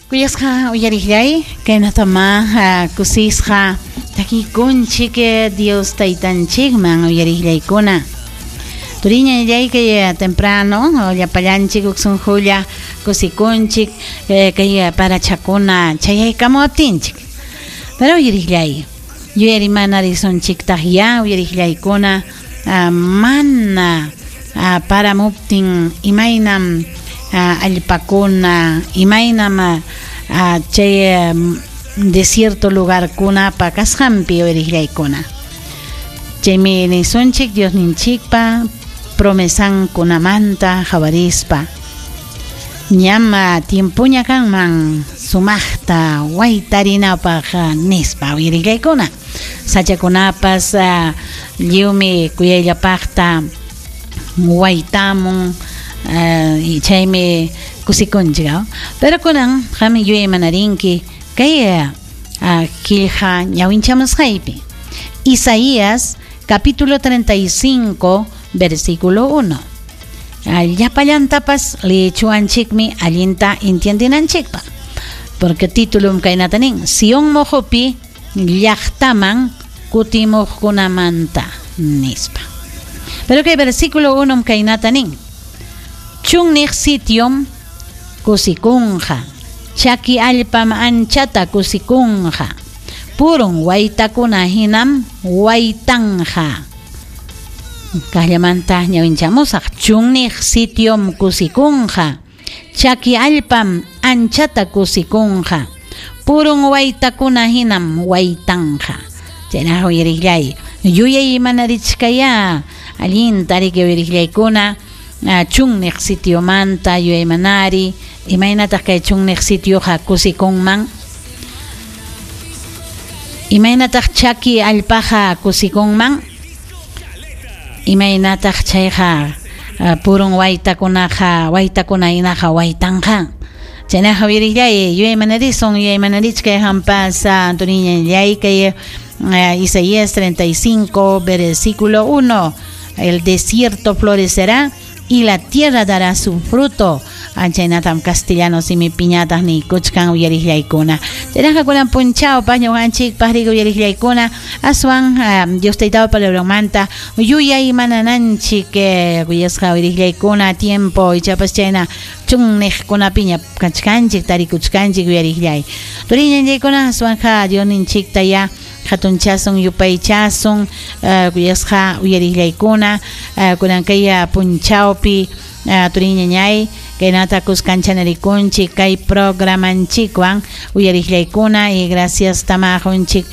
Kuyasqa uyariqllay, kaynatamá kusisqa takikunchik Dios taytanchikman uyariqllaykuna. Turiñallay kay temprano llapallanchik huk sunqulla kusikunchik kay parachakuna chayaykamuwaptinchik. Pero uyariqllay, yuyarimanarisunchiktaq ya uyariqllaykuna mana paramuptin imaynam allpakuna, imaynam chay desierto lugarkunapa kasqanpi uyariqllaykuna. Chaymi nisunchik Diosninchikpa promesankunamanta qawarispa. Ñam tiempoña kanman sumaqta waytarinapaq nispa uyariqllaykuna. Sachakunapas lliwmi kuyayllapaqta waytamun chaymi kusikunchik. Pero kunan qam yuyaymanarinki kay qillqa ñawinchamusqaypi. Isaías capítulo 35 versículo 1. Llapallantapas leechuwanchikmi allinta entiendinanchikpaq. Porque titulum kaynata nin, Sion moqopi llaqtaman kutimuqkunamanta nispa. Pero kay versículo 1 kaynata nin, chunniq sitiom kusikunqa, chaki allpam anchata kusikunqa, purun waytakuna hinam waytanja. Kaqllamanta ñawinchamusaq, chunniq sitiom kusikunqa, chaki allpam anchata kusikunqa, purun waytakuna hinam waytanja. Chaynaqa uyariqllay, yuyay manarichkaya allinta riki uyariqllaykuna chunniq sitiomanta yuyaymanari, imaynataq kay chunniq sitioqa kusikunman, imaynataq chaki allpaqa kusikunman, imaynataq chayqa purun waytakunaqa waytakuna hinaqa waytanja. Chaynaqa uyariqllay, yuyaymanarisun, yuyaymanarichkay hampas Antoniñallay kay Isaías 35 versículo 1, el desierto florecerá y la tierra dará su fruto. Chaynatam castellano simipiñataq niykuchkan uyariqllaykuna. Chaynaqa kunan punchawpaq ñuqanchikpaq riki uyariqllaykuna aswan Dios taytapa palabranmanta yuyaymanananchik kuyasqa uyariqllaykuna tiempo ichapas chayna chunniqkunapiña kachkanchik tarikuchkanchik uyariqllay. Turiñallaykuna aswanja Diosninchikta ya hatunchasun yupaychasun kuyasqa uyariqllaykuna kunan kay punchawpi turiñañay kaynata kuskanchanarikunchik kay programanchikwan uyariqllaykuna y gracias tamaqunchik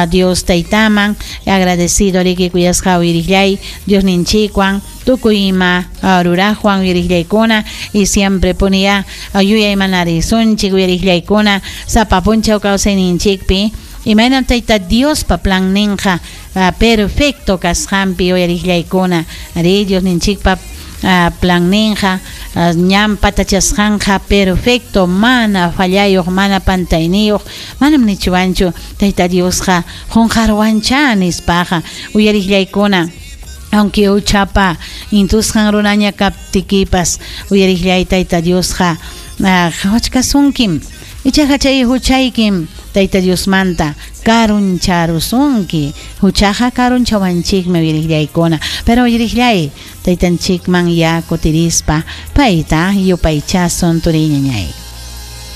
Dios taytaman agradecido riki kuyasqa uyariqllay Diosninchikwan tukuy ima ruraqwan uyariqllaykuna y siempre puniya yuyaymanarisunchik uyariqllaykuna sapa punchaw kawsayninchikpi imaynam tayta Diospa planninqa perfecto kasqanpi uyariqllaykuna ari Diosninchikpa planninqa ñan patachasqanqa perfecto mana fallayuq mana pantayniyuq manam nichiwanchu tayta Diosqa qunqarwancha nispaqa uyariqllaykuna. Aunque huchapa intusqan runaña kaptikipas uyariqllay tayta Diosqa qhawachkasunkim ichaqa chay huchaykim tayta Diosmanta karuncharusunki huchaqa karunchawanchikmi uyariqllaykuna pero uyariqllay taytanchikman ya kutirispa payta yupaychasun turiñañay.